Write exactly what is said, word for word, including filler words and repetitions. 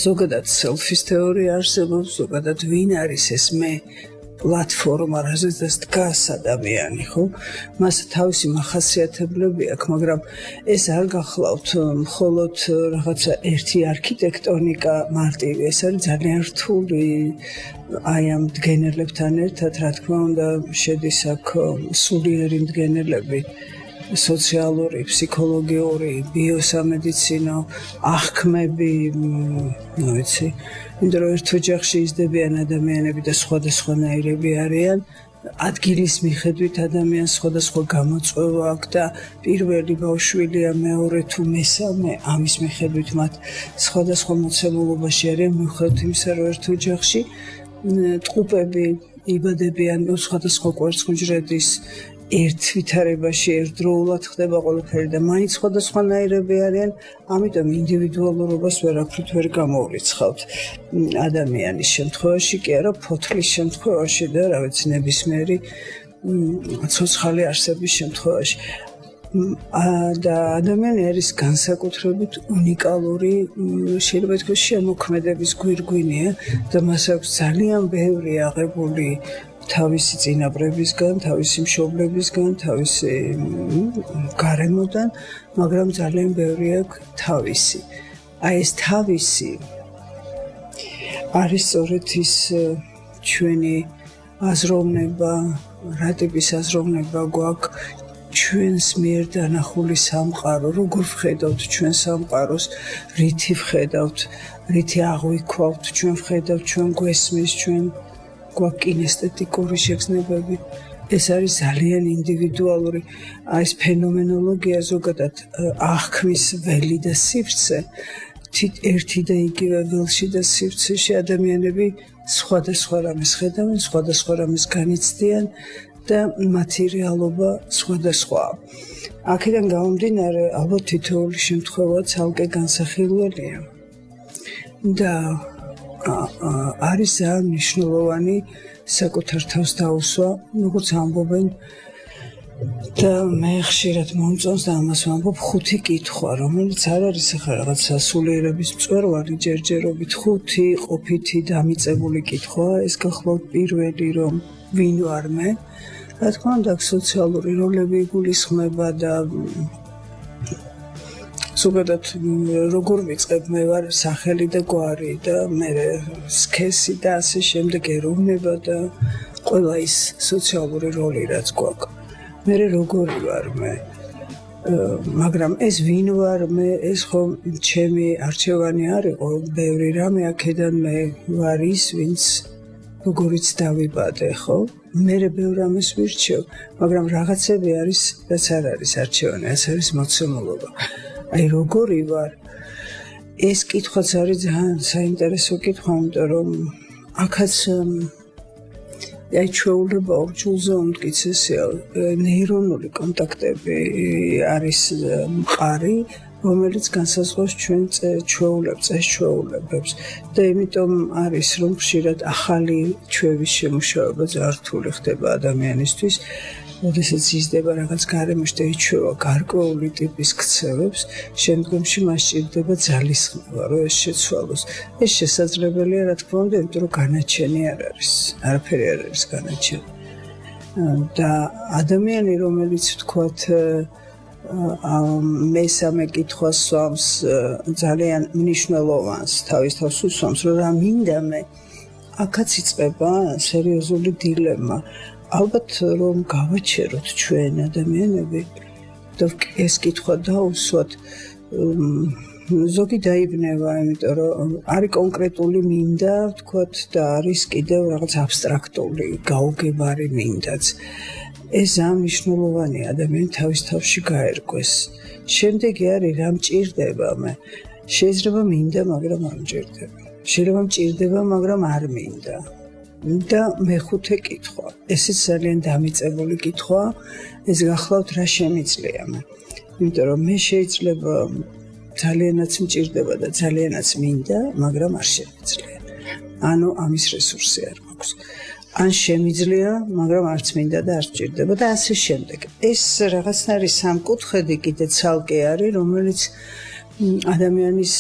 ზოგადად self-ის თეორია არსებობს, ზოგადად ვინ არის ეს მე პლატფორმა, რაზეც დგას ადამიანი, ხო? მას თავისი მახასიათებლები აქვს, მაგრამ ეს არ გახლავთ მხოლოდ რაღაცა ერთი არქიტექტონიკა მარტივი, ეს არის ძალიან რთული აი ამ მდგენელებთან ერთად, რა თქმა უნდა, შედის აქ სულიერი მდგენელები, სოციალური, ფსიქოლოგიური, ბიოსამედიცინო, აღქმები, ну ვიცი, იმიტომ რომ ერთ ოჯახში იზრდებიან ადამიანები და სხვადასხვანაირები არიან, ადგილის მიხედვით ადამიანს სხვადასხვა გამოწვევა აქვს და პირველი ბავშვილია, მეორე თუ მესამე, ამის მიხედვით მათ სხვადასხვა მოცემულობაში არიან, მიუხედავად იმისა, რომ ერთ ოჯახში ტყუპები იბადებიან სხვადასხვა კვერცხუჯრედის ერთ ვითარებაში ერთდროულად ხდება ყველაფერი და მაინც სხვადასხვანაირები არიან, ამიტომ ინდივიდუალურობას ვერაფრით ვერ გამოვრიცხავთ ადამიანის შემთხვევაში, კი არა ფოთლის შემთხვევაში და რა ვიცი ნებისმიერი ცოცხალი არსების შემთხვევაში. და ადამიანი არის განსაკუთრებით უნიკალური, შეიძლება ითქვას შემოქმედების გვირგვინია და მას აქვს ძალიან ბევრი აღებული თავისი წინაპრებისგან, თავისი მშობლებისგან, თავისი გარემოდან, მაგრამ ძალიან ბევრი აქვს თავისი. აი ეს თავისი არის სწორედ ის ჩვენი აზროვნება, რა ტიპის აზროვნება გვაქვს ჩვენს მიერ დანახული სამყარო, როგორ ვხედავთ ჩვენ სამყაროს, რითი ვხედავთ, რითი აღვიქვავთ, ჩვენ ვხედავთ, ჩვენ გვესმის, ჩვენ გვაქვს კინესთეტიკური შეგრძნებები. ეს არის ძალიან ინდივიდუალური, აი ეს ფენომენოლოგია ზოგადად აღქმის ველი და სივრცე, ერთი და იგივე ველში და სივრცეში ადამიანები სხვადასხვა რამეს ხედავენ, სხვადასხვა რამეს განიცდიან და მათი რეალობა სხვადასხვაა. აქედან გამომდინარე, ალბათ თითოეული შემთხვევა ცალკე განსახილველია და არის ძალიან მნიშვნელოვანი საკუთარ თავს დაუსვა, როგორც ამბობენ და მე ხშირად მომწონს და ამას ვამბობ, ხუთი კითხვა, რომელიც არ არის ახლა რაღაც სასულიერების მწვერვალი ჯერჯერობით, ხუთი ყოფითი დამიწებული კითხვა, ეს გახლავთ პირველი, რომ ვინ ვარ მე, რა თქმა უნდა, სოციალური როლები იგულისხმება და ზოგადად როგორ ვიწყებ, მე ვარ სახელი და გვარი და მე სქესი და ასე შემდეგ ეროვნება და ყველა ის სოციალური როლი რაც გვაქვს. მე როგორი ვარ მე, მაგრამ ეს ვინ ვარ მე, ეს ხო ჩემი არჩევანი არ იყო, ბევრი რამე აქედან მე ვარ ის, ვინც როგორიც დავიბადე, ხო? მე ბევრ რამეს ვირჩევ, მაგრამ რაღაცები არის, რაც არ არის არჩევანი, ეს არის მოცემულობა. აი როგორი ვარ, ეს კითხვაც არის ძალიან საინტერესო კითხვა, იმიტომ რომ აქაც აი ჩვეულება ორ ჯულზე უმტკიცესია, ნეირონული კონტაქტები არის მყარი, რომელიც განსაზღვრავს ჩვენ ჩვეულებს, წესჩვეულებებს და იმიტომ არის, რომ ხშირად ახალი ჩვევის შემუშავება ძალიან რთული ხდება ადამიანისთვის, როდესაც იზრდება რაღაც გარემოში და იჩვევა გარკვეული ტიპის ქცევებს, შემდგომში მას სჭირდება ძალისხმევა, რომ ეს შეცვალოს. ეს შესაძლებელია, რა თქმა უნდა, იმიტომ რომ განაჩენი არ არის, არაფერი არ არის განაჩენი. და ადამიანი, რომელიც ვთქვათ, მესამე კითხვას სვამს ძალიან მნიშვნელოვანს, თავის თავს უსვამს, რომ რა მინდა მე, აქაც იწყება სერიოზული დილემა. ალბათ რომ გავაჩეროთ ჩვენ ადამიანები და ეს კითხვა დაუსვათ, ზოგი დაიბნება, იმიტომ რომ არის კონკრეტული მინდა, ვთქვათ, და არის კიდევ რაღაც აბსტრაქტული, გაუგებარი მინდაც. ეს ძალიან მნიშვნელოვანია ადამიანი თავის თავში გაერკვეს. შემდეგი არის რა მჭირდება მე. შეიძლება მინდა, მაგრამ არ მჭირდება. შეიძლება მჭირდება, მაგრამ არ მინდა. და მეხუთე კითხვა. ესეც ძალიან დამიწებული კითხვა, ეს გახლავთ რა შემიძლია მე. იმიტომ რომ მე შეიძლება ძალიანაც მჭირდება და ძალიანაც მინდა, მაგრამ არ შემიძლია. ანუ ამის რესურსი არ მაქვს. ან შემიძლია, მაგრამ არც მინდა და არც მჭირდება და ასე შემდეგ. ეს რაღაცნაირი სამკუთხედი კიდე ცალკე არის, რომელიც ადამიანის